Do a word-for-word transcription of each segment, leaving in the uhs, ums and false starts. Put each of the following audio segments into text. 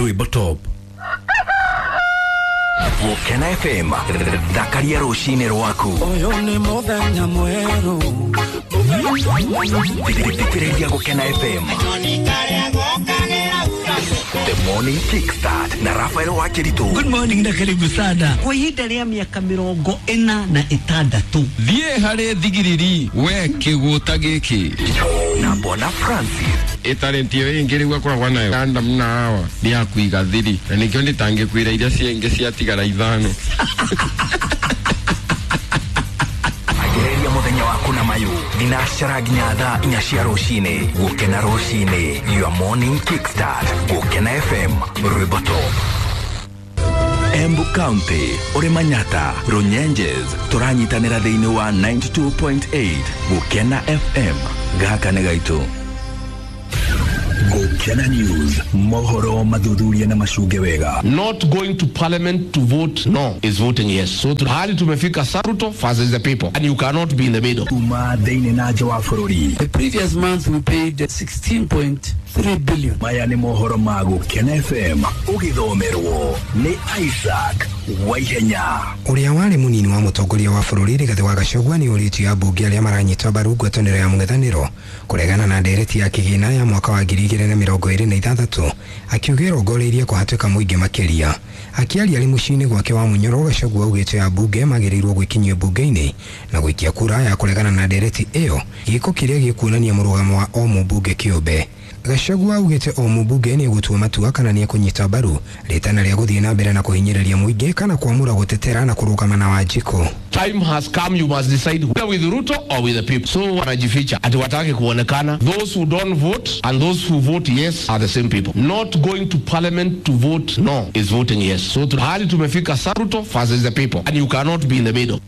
Rwĩmbo Top. Gũkena F M, thakaria rũcinĩ rwaku. Ũyũ nĩ mũthenya mwerũ. Thikĩrĩria Gũkena F M. The Morning Kickstart na Rafael Wakiritu. Good morning na karibu sana. Kwa ihinda rĩa mĩaka mĩrongo ĩna na ĩtandatũ. Thiĩ harĩ thigiriri we kĩgũta gĩkĩ. Na Bona Francis. Ĩtarĩti ĩyo ĩngĩ rĩu akoragwo nayo Adam na Hawa nĩ ya kũiga thiri na nĩkĩo ndĩtangĩkwĩra iria ciengĩ ciatigara ithano. Anjĩrĩria mũthenya waku na mayũ thinacara nginya thaa inya cia rũcinĩ. Gũkena rũcinĩ, your morning kickstart. Gũkena F M, Rwĩmbo Top. Embu County, ũrĩ Manyata, Runyenjes, tũranyitanĩra thĩinĩ wa ninety-two point eight Gũkena F M. Gaka nĩ gaitũ. Gũkena News, mohoro mathuthuria na macunge wega. Not going to parliament to vote no is voting yes. So hali tumefika Saruto versus the people and you cannot be in the middle. Kuma thĩinĩ na nja wa bũrũri. The previous month we paid sixteen point three billion. Maya nĩ mohoro ma Gũkena F M ũgĩthomerwo nĩ Isaac Waihenya. Ũrĩa warĩ mũnini wa mũtongoria wa bũrũri Rigathĩ wa Gachagua nĩ ũrĩtie ambunge arĩa maranyita mbaru ngwatanĩro ya mũng'ethanĩro kũregana na ndereti ya kĩgĩna ya mwaka wa ngiri igĩrĩ na mĩrongo ĩrĩ na ithathatũ, akiuga ĩrongoreirie kũhatĩka mũingĩ makĩria. Akĩaria arĩ mũciĩ-inĩ gwake wa Munyoro, Gachagua augĩte ambunge magĩrĩirwo gwĩkinyia mbunge-inĩ na gũikia kura ya kũregana na ndereti ĩyo, gĩko kĩrĩa gĩkuonania mũrũgamo wa o mũmbunge kĩũmbe. Gachagua augĩte o mũmbunge nĩ egũtua matua kana nĩ ekũnyita mbaru rĩtana rĩa gũthiĩ na mbere na kũhinyĩrĩria mũingĩ kana kwamũra gũtetera na kũrũgama na Wanjikũ. Time has come, you must decide whether with Ruto or with the people. So wanajificha ati wataki kuonekana. Those who don't vote and those who vote yes are the same people. Not going to parliament to vote no is voting yes. So hali tumefika Saruto versus the people and you cannot be in the middle.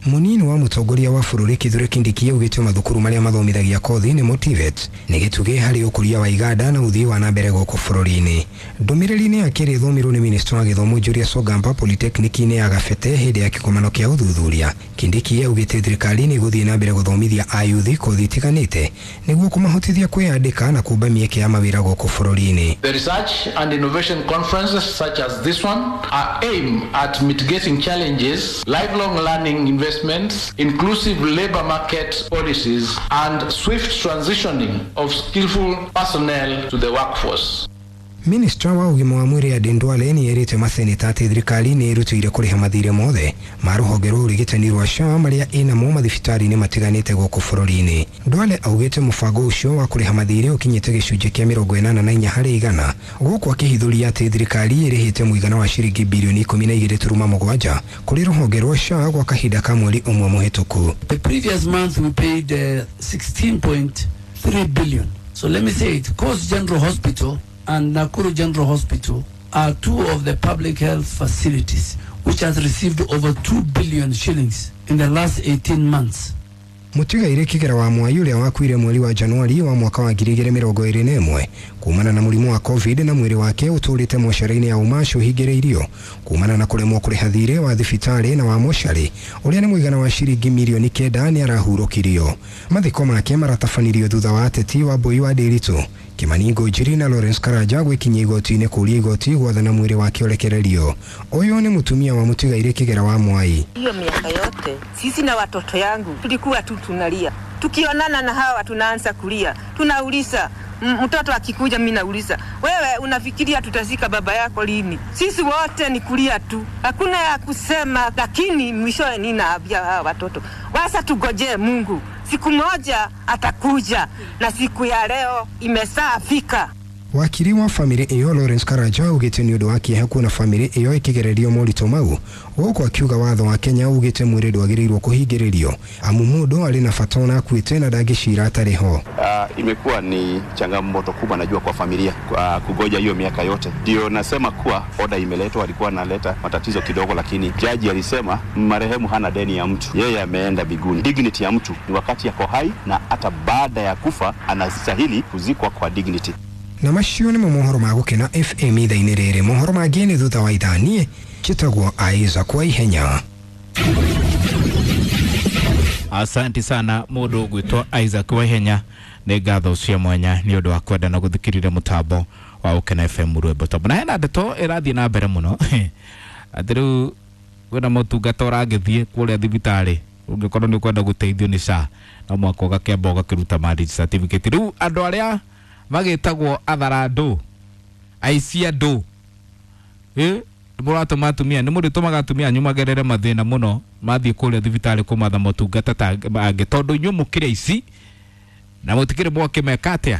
Munini wa mũtongoria wa bũrũri Kithure Kindiki augĩte mathukuru marĩa mathomithagia kothi nĩ Motivet nĩ gĩtugĩ harĩ ũkũria wa iganda na ũthii wa na mbere gũkũ bũrũri-inĩ. Ndũmĩrĩri-inĩ yake ĩrĩa ĩthomirwo nĩ minista wa gĩthomo Julius Ogamba Polytechnic-inĩ ya Gabete hĩndĩ ya kĩgomano kĩa ũthuthuria, Kindiki augĩte thirikari nĩ ĩgũthiĩ na mbere gũthomithia ayuthi kothi itiganĩte nĩguo kũmahotithia kwĩyandĩka na kũmba mĩeke ya mawĩra gũkũ bũrũri-inĩ. The research and innovation conferences such as this one are aimed at mitigating challenges, lifelong learning investments, inclusive labor market policies, and swift transitioning of skillful personnel to the workforce. Minista wa ũgima wa mwĩrĩ Aden Duale nĩ erĩte maseneta atĩ thirikari nĩ ĩrutĩire kũrĩha mathirĩ mothe ma rũhonge rwa ũrigitani rwa S H A marĩa ĩnamo mathibitarĩ-inĩ matiganĩte gũkũ bũrũri-inĩ. Duale augĩte mũbango ũcio wa kũrĩha mathirĩ ũkinyĩte gĩcunjĩ kĩa mĩrongo ĩnana na inya harĩ igana, gũkũ akĩhithũria atĩ thirikari ĩrĩhĩte mũigana wa ciringi bilioni ikũmi na igĩrĩ turuma mũgwanja kũrĩ rũhonge rwa S H A gwa kahinda ka mweri ũmwe mũhĩtũku. The previous month we paid uh, sixteen point three billion. So let me say it, Coast General Hospital and Nakuru General Hospital are two of the public health facilities which has received over two billion shillings in the last eighteen months. Mũtigairĩ Kĩgera wa Mwai ũrĩa wakuire mweri wa Januari wa mwaka wa ngiri igĩrĩ mĩrongo ĩrĩ na ĩmwe kumana na mũrimũ wa COVID na mwĩrĩ wake ũtũrĩte mocarĩ-inĩ ya Umash ũhingĩrĩirio kumana na kũremwo kũrĩha thirĩ wa thibitarĩ na wa mocarĩ ũrĩa nĩ mũigana wa ciringi mirioni kenda nĩ arahurũkirio. Mathiko make maratabanirio thutha wa ateti wa Mbui wa Ndiritu Kimani Ngunjiri na Lawrence Karanja gwĩkinyia igoti-inĩ kũũria igoti gwathana mwĩrĩ wake ũrekererio. Ũyũ nĩ mũtumia wa mũtigairĩ Kĩgera wa Mwai. Hiyo miaka yote sisi na watoto yangu tulikuwa tu tunalia, tukionana na hawa tunaanza kulia, tunauliza mtoto akikuja, mimi nauliza wewe unafikiria tutazika baba yako lini? Sisi wote ni kulia tu, hakuna ya kusema. Lakini mwishowe ninaambia hawa watoto wasa tugojee Mungu, siku moja atakuja, na siku ya leo imesafika. Wakiri wa family ĩyo Lawrence Karanja augĩte nĩ ũndũ wa kĩeha kuona family ĩyo ĩkĩgererio moritũ mau, gũkũ akiuga watho wa Kenya ugĩte mwĩrĩ ndwagĩrĩirwo kũhingĩrĩrio amu mũndũ arĩ na bata ona akuĩte na ndangĩcira atarĩ ho. Uh, imekuwa ni changamoto kubwa najua kwa familia kwa kugoja hiyo miaka yote. Ndio nasema kuwa oda imeletwa, alikuwa analeta matatizo kidogo, lakini jaji alisema marehemu hana deni ya mtu, yeye ameenda biguni. Dignity ya mtu ni wakati yako hai na hata baada ya kufa anastahili kuzikwa kwa dignity. Na macio nĩmo mohoro ma Gũkena F M ithaa-inĩ rĩrĩ. Mohoro mangĩ nĩ thutha wa ithaa. Niĩ njĩtagwo Isaac Waihenya. Asante sana mũndũ ũgwĩtwo Isaac Waihenya, nĩ ngatho cia mwanya nĩ ũndũ wa kwenda na gũthikĩrĩria mũtambo Wa Gũkena F M Rwĩmbo Top. Na hena ndeto ĩrathiĩ na mbere mũno atĩ rĩu kwĩna motungata ũragĩthiĩ kũrĩa thibitarĩ, ũngĩkorwo nĩ ũkwenda gũteithio nĩ S H A, no mũhaka ũgakĩamba ũgakĩruta marriage certificate. Rĩu andũ arĩa magĩtagwo atharandũ, aici andũ, ĩ mũratũma atumia, nĩ mũrĩtũmaga atumia anyu magerere mathĩna mũno mathiĩ kũrĩa thibitarĩ kũmatha motungata ta angĩ, tondũ inyuĩ mũkĩrĩ aici na mũtikĩrĩ mwakĩmeka atĩa,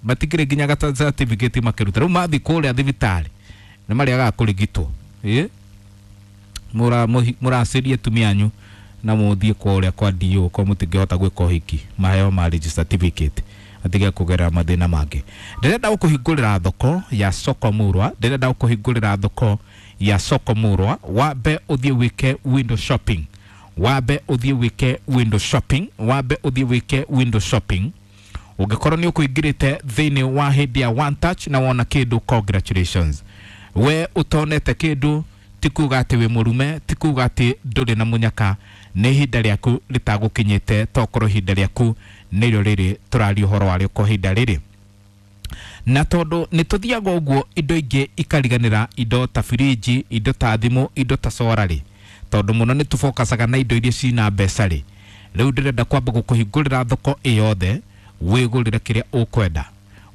matikĩrĩ nginya gata certificate makĩruta. Rĩu mathiĩ kũrĩa thibitarĩ nĩ marĩagaga kũrigitwo. Ĩ mũra mũracirie atumia anyu na mũthiĩ kũrĩa kwa D O ko mũtingĩhota gwĩka ũhiki, maheo marriage certificate atige kũgerera mathĩna mangĩ. Ndĩrenda gũkũhingũrĩra thoko ya Soko Murwa, ndĩrenda gũkũhingũrĩra thoko ya Soko Murwa, wambe ũthiĩ wĩke window shopping, wambe ũthiĩ wĩke window shopping, wambe ũthiĩ wĩke window shopping. Ũngĩkorwo nĩ ũkũingĩrĩte thĩinĩ wa hĩndĩ ya one touch na wona kĩndũ, congratulations. We ũtonete kĩndũ, ti kuga atĩ wĩ mũrume, ti kuga atĩ ndũrĩ na mũnyaka, nĩ ihinda rĩaku rĩtagũkinyĩte, tokorwo ihinda rĩaku nĩrĩo rĩrĩ tũraria ũhoro warĩo kwa ihinda rĩrĩ. Na tondũ nĩ tũthiaga ũguo indo ingĩ ikariganĩra, indo ta firiji, indo ta thimũ, indo ta sora rĩ, tondũ mũno nĩ tũbokacaga na indo iria cina mbeca rĩ, rĩu ndĩrenda kwamba gũkũhingũrĩra thoko ĩyothe, wĩgũrĩre kĩrĩa ũkwenda,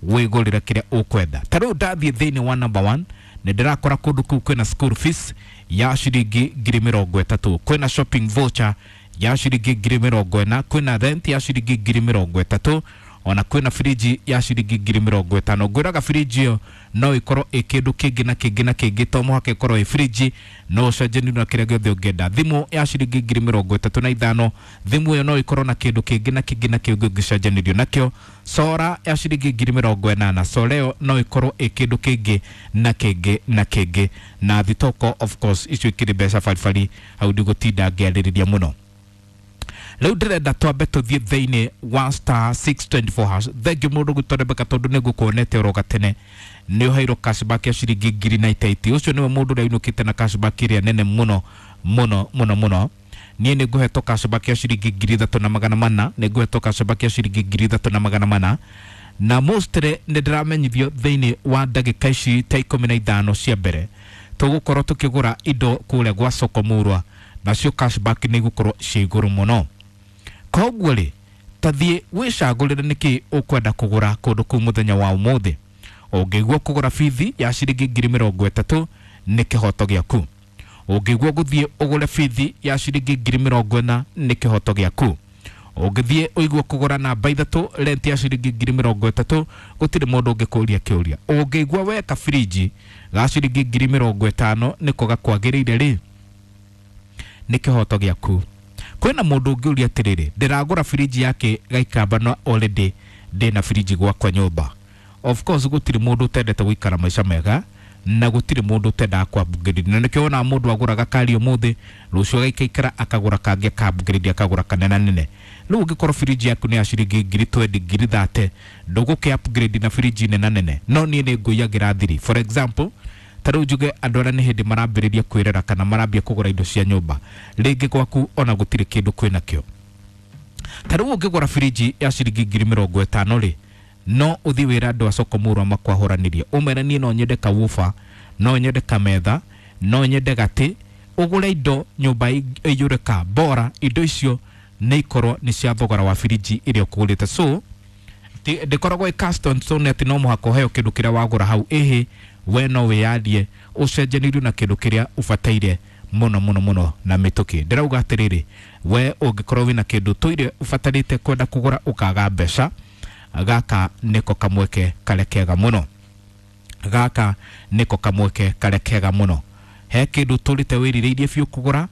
wĩgũrĩre kĩrĩa ũkwenda. Ta rĩu ndathiĩ thĩinĩ wa number one, nĩ ndĩrakora kũndũ kũu kwĩna school fees ya ciringi ngiri mĩrongo ĩtatũ, kwĩna shopping voucher ya ciringi ngiri mĩrongo ĩna, kwĩna rent ya ciringi ngiri mĩrongo ĩtatũ, ona kwĩna firiji ya ciringi ngiri mĩrongo ĩtano. Ngwĩraga firiji ĩyo no ĩkorwo ĩ kĩndũ kĩngĩ na kĩngĩ na kĩngĩ, to mũhaka ĩkorwo ĩ firiji, no ũcenjanie na kĩrĩa gĩothe ũngĩenda. Thimũ ya ciringi ngiri mĩrongo ĩtatũ na ithano, thimũ ĩyo no ĩkorwo na kĩndũ kĩngĩ na kĩngĩ na kĩngĩ ũngĩcenjanĩrio nakĩo. Sora ya ciringi ngiri mĩrongo ĩnana, sora ĩyo no ĩkorwo ĩ kĩndũ kĩngĩ na kĩngĩ na kĩngĩ. Na thitoko of course icio ikĩrĩ mbeca baribari, hau ndigũtinda ngĩarĩrĩria mũno. Rĩu ndĩrenda twambe tũthiĩ thĩinĩ wa star six twenty four hash. Thengiũ mũndũ gwitũ Rebecca, tondũ nĩ ngũkuonete oro gatene nĩ ũheirwo cashback ya ciringi ngiri na itaiti. Ũcio nĩwe mũndũ ũrĩa ũinũkĩte na cashback ĩrĩa nene mũno mũno mũno mũno. Niĩ nĩ ngũhetwo cashback ya ciringi ngiri ithatũ na magana mana, nĩ ngũhetwo cashback ya ciringi ngiri ithatũ na magana mana. Na mostly nĩ ndĩramenyithio thĩinĩ wa ndagĩka ici ta ikũmi na ithano cia mbere tũgũkorwo tũkĩgũra indo kũrĩa gwa Soko Murwa, nacio cashback nĩ igũkorwo ciĩ igũrũ mũno. Koguo rĩ, tathiĩ wĩcagũrĩre nĩkĩ ũkwenda kũgũra kũndũ kũu mũthenya wa ũmũthĩ. Ũngĩigua kũgũra bithi ya ciringi ngiri mĩrongo ĩtatũ nĩ kĩhoto gĩaku. Ũngĩigua gũthiĩ ũgũre bithi ya ciringi ngiri mĩrongo ĩna nĩ kĩhoto gĩaku. Ũngĩthiĩ ũigue kũgũra namba ithatũ rent ya ciringi ngiri mĩrongo ĩtatũ, gũtirĩ mũndũ ũngĩkũria kĩũria. Ũngĩigua weka firiji ga ciringi ngiri mĩrongo ĩtano nĩko gakwagĩrĩire rĩ, nĩ kĩhoto gĩaku. Kwĩna mũndũ ũngĩũria atĩrĩrĩ, ndĩragũra firiji yake gaikamba na already ndĩna firiji gwakwa nyũmba. Of course gũtirĩ mũndũ ũtendete gũikara maica mega na gũtirĩ mũndũ ũtendaga kwa upgrade. Na nĩkĩo wonaga mũndũ agũraga kari ũmũthĩ, rũciũ agaikaikara akagũra kangĩ aka upgrade, akagũra kanene nene. Rĩu ũngĩkorwo firiji yaku nĩ ya ciringi ngiri twenty, ngiri thirty, ndũgũkĩ upgrade na firiji nene nene. No niĩ nĩ ngũiyagĩra thiri. For example, ta rĩu njuge andũ arĩa nĩ hĩndĩ marambĩrĩria kwĩrera kana marambia kũgũra indo cia nyũmba, rĩngĩ gwaku ona gũtirĩ kĩndũ kwĩnakĩo. Ta rĩu ũngĩgũra firiji ya ciringi ngiri mĩrongo ĩtano rĩ, no ũthiĩ wĩra andũ a Soko Murwa makwahũranĩrie, ũmere niĩ no nyende kawuba, no nyende kametha, no nyende gatĩ, ũgũre indo nyũmba ĩiyũre ka bora, indo icio nĩ ikorwo nĩ cia thogora wa firiji ĩrĩa ũkũgũrĩte. So ndĩkoragwo ĩ custom stone atĩ no mũhaka ũheo kĩndũ kĩrĩa wagũra hau, ĩhĩ we no wĩyandie ũcenjanĩrio na kĩndũ kĩrĩa ũbataire mũno mũno mũno na mĩtũkĩ. Ndĩrauga atĩrĩrĩ, we ũngĩkorwo wĩna kĩndũ tũire ũbatarĩte kwenda kũgũra ũkaga mbeca, gaka nĩko kamweke karĩa kega mũno, gaka nĩko kamweke karĩa kega mũno. He kĩndũ tũrĩte wĩrirĩirie biũ kũgũra,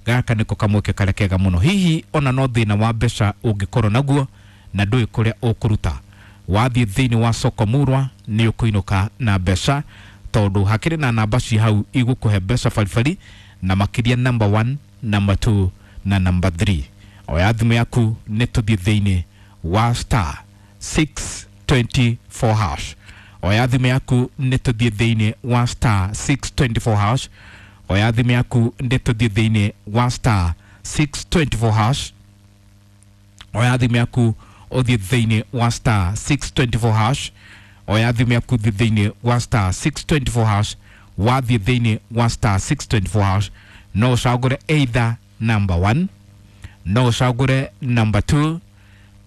gaka nĩko kamweke karĩa kega mũno. Hihi ona no thĩna wa mbeca ũngĩkorwo naguo na ndũĩ kũrĩa ũkũruta, wathiĩ thĩinĩ wa Soko Murwa nĩ ũkũinũka na mbeca, tondũ hakĩrĩ na namba ci hau igũkũhe mbeca baribari, na makĩria number one, number two na number three. Oya thimũ yaku nĩ tũthiĩ thĩinĩ wa star six twenty four hash. Oya thimũ yaku nĩ tũthiĩ thĩinĩ wa star six twenty four hash. Oya thimũ yaku nĩ tũthiĩ thĩinĩ wa star six twenty four hash. Oya thimũ yaku ũthiĩ thĩinĩ wa star six twenty four hash. Oya thimũ yaku thiĩ thĩinĩ wa star six twenty four hash, wathiĩ thĩinĩ wa star six twenty four hash no ũcagũre either number one, no ũcagũre number two,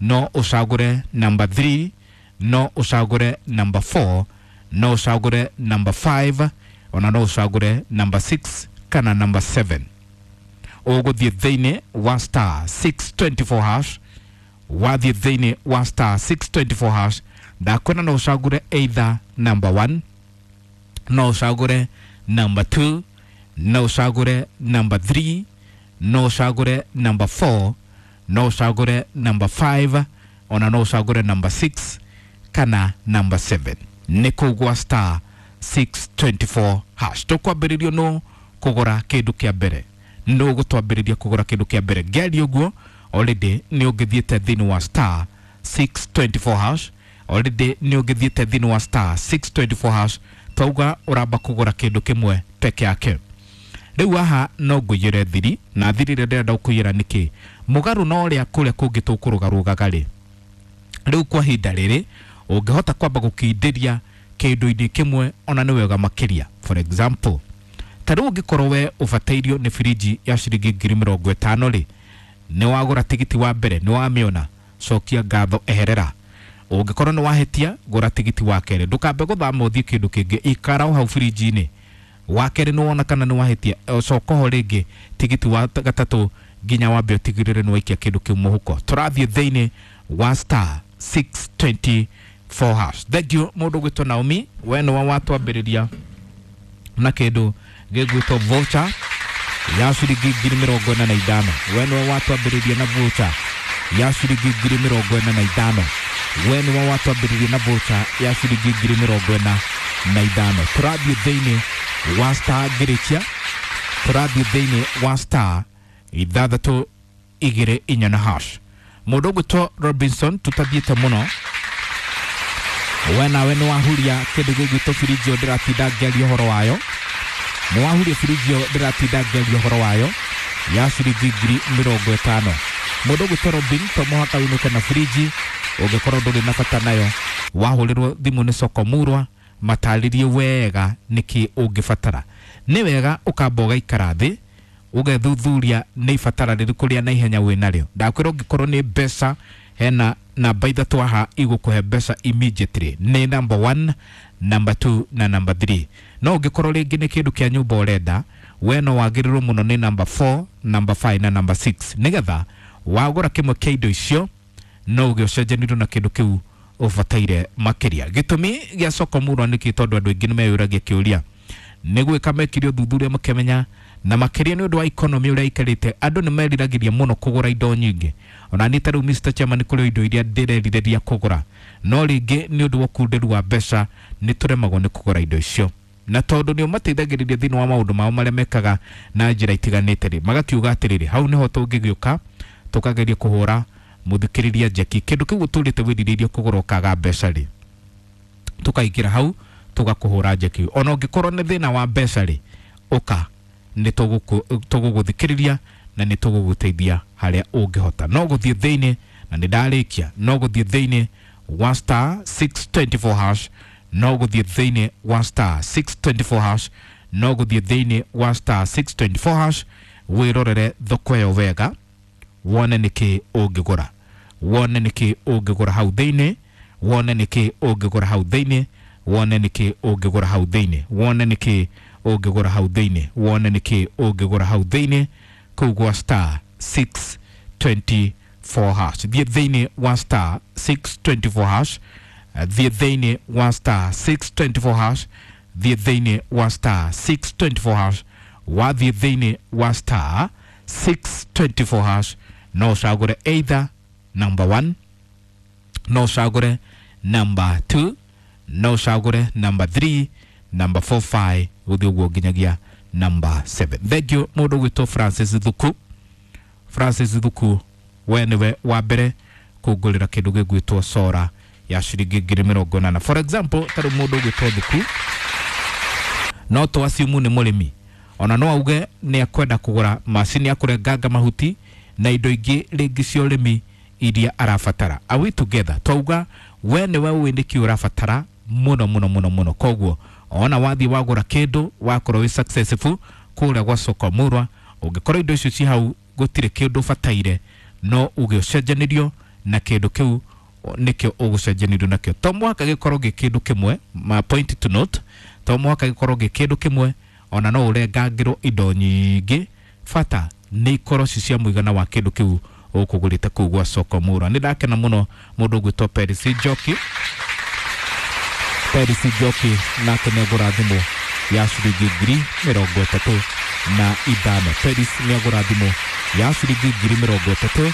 no ũcagũre number three, no ũcagũre number four, no ũcagũre number five, ona no ũcagũre number six kana number seven. Ũgũthiĩ thĩinĩ wa star six twenty four hash, wathiĩ thĩinĩ wa star six twenty four hash ndakwĩra no ũcagũre either number one, no ũcagũre number two, no ũcagũre number three, no ũcagũre number four, no ũcagũre number five, ona no ũcagũre number six kana number seven. Nĩ kũu gwa star six twenty four hash. Tũkwambĩrĩrio no kũgũra kĩndũ kĩa mbere, no gũtwambĩrĩria kũgũra kĩndũ kĩa mbere. Ngĩaria ũguo already nĩ ũngĩthiĩte thĩinĩ wa star six twenty four hash, already nĩ ũngĩthiĩte thĩinĩ wa star six twenty four hash. Twauga ũramba kũgũra kĩndũ kĩmwe peke yake. Rĩu haha no ngũiyĩre thiri, na thiri ĩrĩa ndĩrenda gũkũiyĩra nĩkĩ? Mũgarũ na ũrĩa kũrĩa kũngĩ tũkũrũgarũgaga rĩ, rĩu kwa ihinda rĩrĩ ũngĩhota kwamba gũkindĩria kĩndũ-inĩ kĩmwe ona nĩ wega makĩria. For example, ta rĩu ũngĩkorwo we ũbatairio nĩ firiji ya ciringi ngiri mĩrongo ĩtano rĩ, nĩ wagũra tigiti wa mbere, nĩ wamĩona, cokia ngatho, eherera. Ũngĩkorwo nĩ wahĩtia, gũra tigiti wa kerĩ, ndũkambe gũthama ũthiĩ kĩndũ kĩngĩ, ikara o hau firinji-inĩ. Wa kerĩ nĩ wona kana nĩ wahĩtia, coka ho rĩngĩ tigiti wa gatatũ nginya wambe ũtigĩrĩre nĩ waikia kĩndũ kĩu mũhuko. Tũrathiĩ thĩinĩ wa star six twenty four hash. Thank you mũndũ ũgwĩtwo Naomi, we nĩwe watwambĩrĩria na kĩndũ gĩgwĩtwo voucher ya ciringi ngiri mĩrongo ĩna na ithano. We nĩwe watwambĩrĩria na voucher ya ciringi ngiri mĩrongo ĩna na ithano. We nĩwe watwambĩrĩria na voucher ya ciringi ngiri mĩrongo ĩna na ithano. Tũrathiĩ thĩinĩ wa star ngĩrĩkia, tũrathiĩ thĩinĩ wa star ithathatũ igĩrĩ inya na hash. Mũndũ ũgwĩtwo Robinson, tũtathiĩte mũno, we nawe nĩ wahuria kĩndũ gĩgwĩtwo firiji ĩyo ndĩratinda ngĩaria ũhoro wayo. Nĩ wahuria firiji ĩyo ndĩratinda ngĩaria ũhoro wayo ya ciringi ngiri mĩrongo ĩtano. Mũndũ ũgwĩtwo Robin, to mũhaka wĩinũke na firiji ũngĩkorwo ndũrĩ na bata nayo. Wahũrĩrwo thimũ nĩ Soko Murwa, matarĩrie wega nĩkĩ ũngĩbatara. Nĩ wega ũkamba ũgaikara thĩ ũgethuthuria nĩ ibatara rĩrĩkũ rĩa naihenya wĩnarĩo. Ndakwĩra ũngĩkorwo nĩ mbeca, hena namba ithatũ haha igũkũhe mbeca immediately, nĩ number one, number two na number three. No ũngĩkorwo rĩngĩ nĩ kĩndũ kĩa nyũmba ũrenda, we no wagĩrĩrwo mũno nĩ number four, number five na number six, nĩgetha wagũra kĩmwe kĩa indo icio no ũgĩe ũcenjanĩrio na kĩndũ kĩu ũbataire makĩria. Gĩtũmi gĩa Soko Murwa nĩkĩ? Tondũ andũ aingĩ nĩmeyũragia kĩũria, nĩ gwĩka mekire ũthuthuria makĩmenya, na makĩria nĩ ũndũ wa economy ũrĩa ikarĩte, andũ nĩ meriragĩria mũno kũgũra indo nyingĩ. Ona niĩ ta rĩu Mister Chairman kũrĩ indo iria ndĩrerirĩria kũgũra, no rĩngĩ nĩ ũndũ wa ũkunderu wa mbeca nĩ tũremagwo nĩ kũgũra indo icio. Na tondũ nĩo mateithagĩrĩria thĩinĩ wa maũndũ mao marĩa mekaga na njĩra itiganĩte rĩ, magakiuga atĩrĩrĩ, hau nĩho tũngĩgĩũka tũkageria kũhũra mũthikĩrĩria njeki kĩndũ kĩu ũtũrĩte wĩrirĩirie kũgũra ũkaga mbeca rĩ, tũkaingĩra hau tũgakũhũra njeki. Ona ũngĩkorwo nĩ thĩna wa mbeca rĩ, ũka nĩ tũgũgũthikĩrĩria na nĩ tũgũgũteithia harĩa ũngĩhota. No gũthiĩ thĩinĩ, na nĩ ndarĩkia, no gũthiĩ thĩinĩ wa star six twenty four hash, no gũthiĩ thĩinĩ wa star six twenty four hash, no gũthiĩ thĩinĩ wa star six twenty four hash, wĩrorere thoko ĩyo wega, wone nĩkĩ ũngĩgũra, wone nĩkĩ ũngĩgũra hau thĩinĩ, wone nĩkĩ ũngĩgũra hau thĩinĩ, wone nĩkĩ ũngĩgũra hau thĩinĩ, wone nĩkĩ ũngĩgũra hau thĩinĩ, wone nĩkĩ ũngĩgũra hau thĩinĩ kũu gwa star six twenty four hash. Thiĩ thĩinĩ wa star six twenty four hash, thiĩ thĩinĩ wa star six twenty four hash, thiĩ thĩinĩ wa star six twenty four hash, wathiĩ thĩinĩ wa star six twenty four hash, no ũcagũre either number one, no ũcagũre number two, no ũcagũre number three, number four, five, gũthiĩ ũguo nginyagia number seven. Thank you mũndũ ũgwĩtwo Francis Thuku. Francis Thuku, we nĩwe wa mbere kũngũrĩra kĩndũ gĩgwĩtwo sora ya ciringi ngiri mĩrongo ĩnana. For example, ta rĩu mũndũ ũgwĩtwo Thuku no to assume nĩ mũrĩmi, ona no auge nĩ akwenda kũgũra macini ya kũrenganga mahuti na indo ingĩ rĩngĩ cia ũrĩmi iria arabatara. Are we together? Twauga we nĩwe ũĩ nĩkĩ ũrabatara muno muno muno muno. Koguo ona wathi wagura kindu wakorwo wi successful kuria gwa soko murwa, ungikorwo indo icio ci hau gutire kindu bataire, no uge ucenjanirio na kindu kiu nikio ugucenjanirio nakio. To mwaka gikorwo gi kindu kimwe, ma point to note, to mwaka gikorwo gi kindu kimwe, ona no urengangirwo indo nyingi, bata ni ikorwo ci cia muigana wa kindu kiu ukugurite kuu gwa soko murwa. Ni ndakena muno mundu ugwitwo Peris Njoki, Peris Njoki nake nĩagũra thimũ ya ciringi ngiri mĩrongo ĩtatũ na ithano. Peris nĩagũra thimũ ya ciringi ngiri mĩrongo ĩtatũ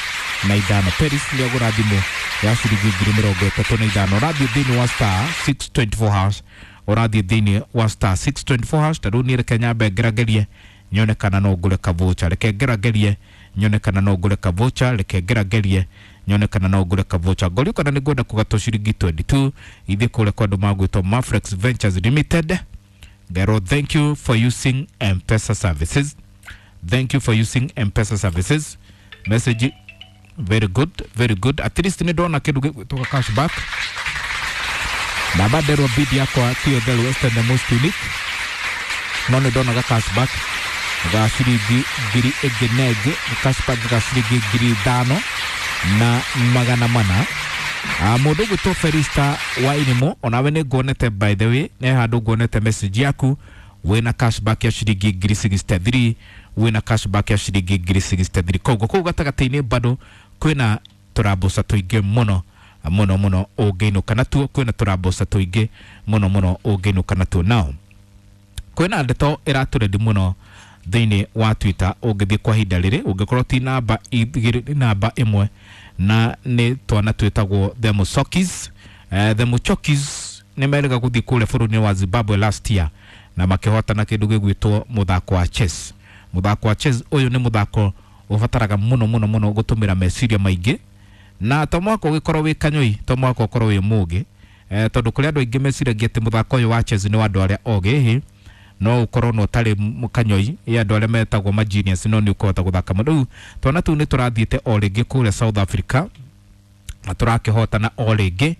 na ithano. Peris nĩagũra thimũ ya ciringi ngiri mĩrongo ĩtatũ na ithano. Ũrathiĩ thĩinĩ wa star six twenty four hash, ũrathiĩ thĩinĩ wa star six twenty four hash. Ta rĩu niĩ reke nyambe ngeragerie nyone kana no ngũre kavocha, reke ngeragerie nyone kana no ngũre kavocha, reke ngeragerie nyone kana no ngũre kavocha. Ngorio kana nĩ ngwenda kũgatwo ciringi twenty two ithiĩ kũrĩa kwa andũ magwĩtwo Mafrex Ventures Limited. Ngero, thank you for using M-Pesa services, thank you for using M-Pesa services. Message very good, very good. At least nĩ ndona kĩndũ gĩgwĩtwo cashback na banderwo bid yakwa tiyo the lowest and the most unique, no nĩ ndona ga cashback ga ciringi ngiri ĩngĩ na ĩngĩ, cashback ga ciringi ngiri ithano na magana mana. Mũndũ ũgwĩtwo Felista Wainimo, onawe nĩ nguonete, by the way, nĩ handũ nguonete message yaku wĩna cashback ya ciringi ngiri sixty three, wĩna cashback ya ciringi ngiri sixty three. Koguo kũu gatagatĩ-inĩ bado kwĩna tũrambuca tũingĩ mũno mũno mũno ũngĩinũka natuo, kwĩna tũrambuca tũingĩ mũno mũno ũngĩinũka natuo. Nao kwĩna ndeto ĩratũrendi mũno thĩinĩ wa Twitter ũngĩthiĩ kwa ihinda rĩrĩ, ũngĩkorwo ti namba igĩrĩ namba ĩmwe, na nĩ twana twĩtagwo the Muchokis. Uh, the Muchokis nĩ merĩga gũthiĩ kũrĩa bũrũri-inĩ wa Zimbabwe last year na makĩhotana kĩndũ gĩgwĩtwo mũthako wa chess. Mũthako wa chess ũyũ nĩ mũthako ũbataraga mũno mũno mũno gũtũmĩra meciria maingĩ, na to mwaka ũgĩkorwo wĩ kanyoi, to mwaka ũkorwo wĩ mũgĩ, eh, tondũ kũrĩ andũ aingĩ meciragia atĩ mũthako ũyũ wa chess nĩ wa andũ arĩa ogĩ, hĩ no ukorwo no ũtarĩ kanyoi ya andũ arĩa metagwo ma genius, no nĩ ũkũhota gũthaka mũno. Rĩu twana tũu nĩ tũrathiĩte o rĩngĩ kũrĩa South Africa na tũrakĩhotana o rĩngĩ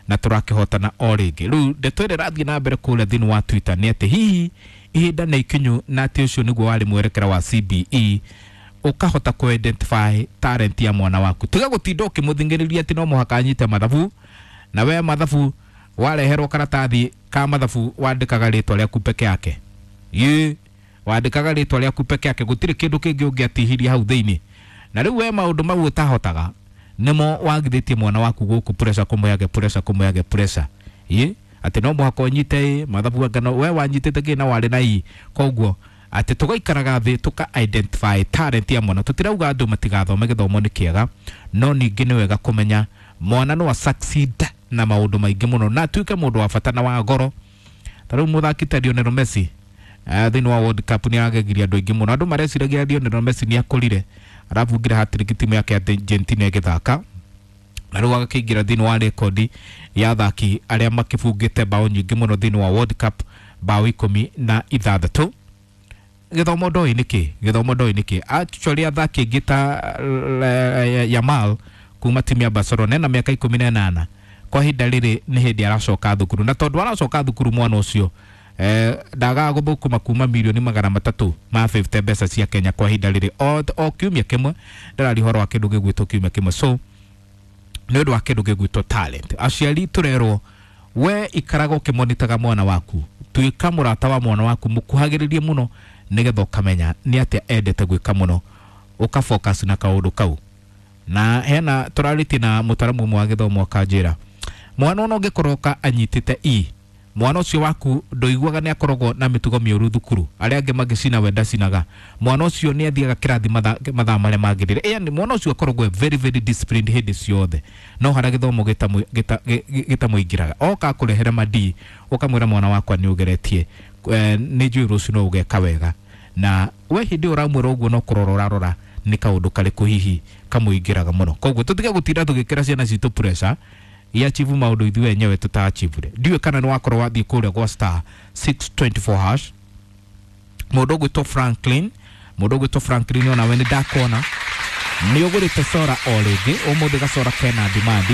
na tũrakĩhotana o rĩngĩ. Rĩu ndeto ĩrĩa ĩrathiĩ na mbere kũrĩa thĩinĩ wa Twitter nĩ atĩ hihi ihinda nĩ ikinyu na atĩ ũcio nĩguo warĩ mwerekera wa C B E, ũkahota kũ identify talent ya mwana waku. Tiga gũtinda ũkĩmũthingĩrĩria atĩ no mũhaka anyite mathabu, na we mathabu wareherwo karatathi ka mathabu wandĩkaga rĩtwa rĩaku peke yake, ye wandĩkaga rĩtwa rĩaku peke yake, gũtirĩ kĩndũ kĩngĩ ũngĩatihirie hau thĩinĩ. Na rĩu we maũndũ mau ũtahotaga nĩmo wagithĩtie mwana waku gũkũ pressure, kũmũheage pressure, kũmũheage pressure, ye atĩ no mũhaka ũnyite mathabu anga no we wanyitĩte kĩ na warĩ na i. Koguo atĩ tũgaikaraga thĩ tũka identify talent ya mwana. Tũtirauga andũ matigathome, gĩthomo nĩ kĩega, no ningĩ nĩ wega kũmenya mwana no a succeed na maũndũ maingĩ mũno na atuĩke mũndũ wa bata na wa goro. Ta rĩu mũthaki ta Lionel Messi thĩinĩ wa World Cup nĩ aragegirie andũ aingĩ mũno. Andũ mareciragia Lionel Messi nĩ akũrire, arabungire hat-trick timu yake ya Argentina ĩgĩthaka, na rĩu agakĩingĩra thĩinĩ wa rekondi ya athaki arĩa makĩbungĩte bao nyingĩ mũno thĩinĩ wa World Cup, bao ikũmi na ithathatũ. Gĩthomo ndoĩ nĩkĩ, gĩthomo ndoĩ nĩkĩ. Actually athaki aingĩ ta Yamal kuma timu ya Barcelona ena mĩaka ikũmi na ĩnana, kwa ihinda rĩrĩ nĩ hĩndĩ aracoka thukuru, na tondũ aracoka thukuru mwana ũcio eh, ndagaga gũthũkũma kuma mirioni magana matatũ ma fifty mbeca cia Kenya kwa ihinda rĩrĩ o, o kiumia kĩmwe. Ndĩraria ũhoro wa kĩndũ gĩgwĩtwo kiumia kĩmwe. So nĩ ũndũ wa kĩndũ gĩgwĩtwo talent, aciari tũrerwo we ikaraga ũkĩmonitaga mwana waku, tuĩka mũrata wa mwana waku, mũkuhagĩrĩrie mũno nĩgetha ũkamenya nĩ atĩa endete gwĩka mũno, ũka focus na kaũndũ kau. Na hena tũrarĩtie na mũtaramu ũmwe wa gĩthomo akanjĩra mwana ona ũngĩkorwo ka anyitĩte E, mwana ũcio waku ndũiguaga nĩ akoragwo na mĩtugo mĩũru thukuru, arĩa angĩ magĩcina we ndacinaga, mwana ũcio nĩ athiaga kĩrathi mathaa marĩa magĩrĩire, yani mwana ũcio akoragwo very very disciplined hĩndĩ ciothe, no harĩa gĩthomo gĩtamũingĩraga oka kũrehere madi, ũkamwĩra mwana wakwa nĩ ũgeretie, nĩ njũĩ rũciũ no ũgeka wega, na we hĩndĩ ũramwĩra ũguo no kũrora ũrarora nĩ kaũndũ karĩkũ hihi kamũingĩraga mũno. Koguo tũtige gũtinda tũgĩkĩra ciana citũ pressure iachivu maũndũ ithuĩ enyewe tũtaachivure. Ndiũĩ kana nĩ wakorwo wathiĩ kũrĩa gwa star six twenty four hash. Mũndũ ũgwĩtwo Franklin, mũndũ ũgwĩtwo Franklin onawe nĩ ndakona nĩ ũgũrĩte sora o rĩngĩ ũmũthĩ, gacora kena demand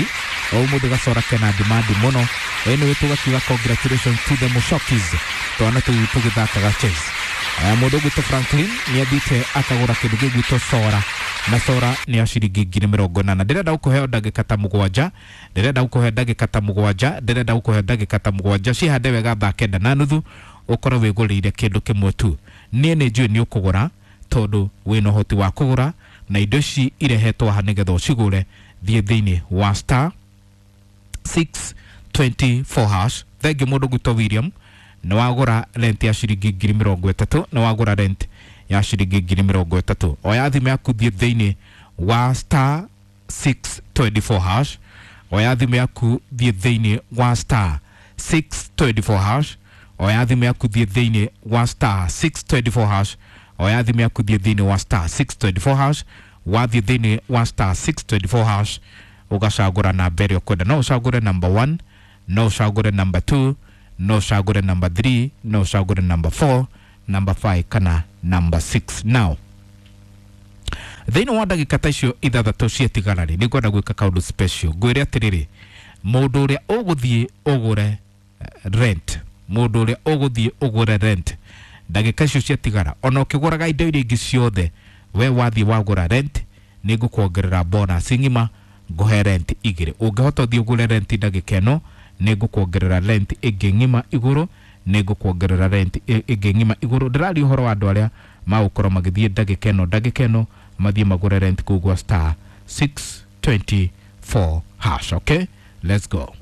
O ũmũthĩ gacora kena demand mũno. Anyway, tũgakiuga congratulations to the Mushokis, twana tũu tũgĩthakaga chess. Aya, mũndũ ũgwĩtwo Franklin nĩ athiĩte akagũra kĩndũ gĩgwĩtwo sora, na sora nĩ ya ciringi ngiri mĩrongo ĩnana. Ndĩrenda gũkũhe ndagĩka ta mũgwanja, ndĩrenda gũkũhe ndagĩka ta mũgwanja, ndĩrenda gũkũhe ndagĩka ta mũgwanja. Cihande wega thaa kenda na nuthu ũkorwo wĩgũrĩire kĩndũ kĩmwe tu. Niĩ nĩ njũĩ nĩ ũkũgũra tondũ wĩna ũhoti wa kũgũra, na indo ici irehetwo haha nĩgetha ũcigũre. Thiĩ thĩinĩ wa star six twenty four hash. Thengiũ mũndũ gwĩtwo William, nĩ wagũra rent ya ciringi ngiri mĩrongo ĩtatũ, nĩ wagũra rent ya ciringi ngiri mĩrongo ĩtatũ. Oya thimũ yaku, thiĩ thĩinĩ wa star six twenty four hash. Oya thimũ yaku, thiĩ thĩinĩ wa star six twenty four hash. Oya thimũ yaku, thiĩ thĩinĩ wa star six twenty four hash. Oya thimũ yaku, thiĩ thĩinĩ wa star six twenty four hash. Wathiĩ thĩinĩ wa star six twenty four hash ũgacagũra namba ĩrĩa ũkwenda. No ũcagũre number one, no ũcagũre number two, no ũcagũre number three, no ũcagũre number four, number five kana number six. Now thĩinĩ wa ndagĩka ta icio ithathatũ ciatigara rĩ, nĩ ngwenda gwĩka kaũndũ special. Ngwĩre atĩrĩrĩ, mũndũ ũrĩa ũgũthiĩ ũgũre rent, mũndũ ũrĩa ũgũthiĩ ũgũre rent ndagĩka icio ciatigara, ona ũkĩgũraga indo iria ingĩ ciothe, we wathiĩ wagũra rent nĩ ngũkuongerera bonus ng'ima, ngũhe rent igĩrĩ. Ũngĩhota ũthiĩ ũgũre rent ndagĩka ĩno, nĩ ngũkuongerera rent ĩngĩ ng'ima igũrũ, nĩ ngũkuongerera rent ĩngĩ ng'ima igũrũ. Ndĩraria ũhoro wa andũ arĩa magũkorwo magĩthiĩ ndagĩka ĩno, ndagĩka ĩno mathiĩ magũre rent kũu gwa star six twenty four hash. Okay, let's go.